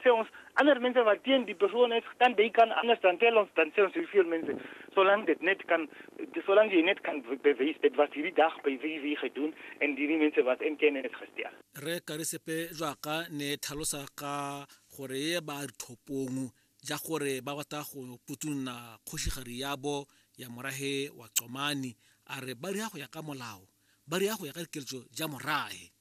sê ons ander mense wat teen die persoon is, dan die kan anders dan tel ons, dan sê ons hoeveel mense, solank dit net kan, solank jy net kan bewys dit was hierdie dag by wie wie gedoen en hierdie mense was in kennis gestel. Rre Karisepe jaaka ne tlhalosa ka gore ye ba thopong ja gore ba batla go putunna kgošigari yabo ya morahe wa Qomani, a re ba ria go ya ka molao, ba ria go ya ka dikeletso ja morahe.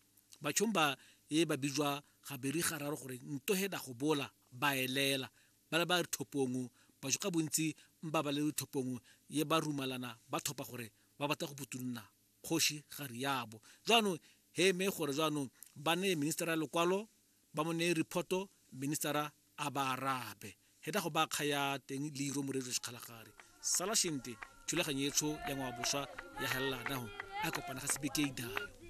Batšhong ba ye ba bijwa gabedi gararo gore ntohe da go bola ba elela ba le ba thopong, batho ka bontsi mba ba le thopong ye ba rumalana ba thopa gore ba batla go putunna kgoši gare yabo. Jaanong he me gore jaanong ba neye ministera lekwalo, ba mo neye reporto, ministera a ba arabe. He da go ba kgaya teng leiro moreetso sekgalagare. Sala shente thulaganyo etsho ya ngwaoboswa ya helela naho a kopana ga sebeke idayo.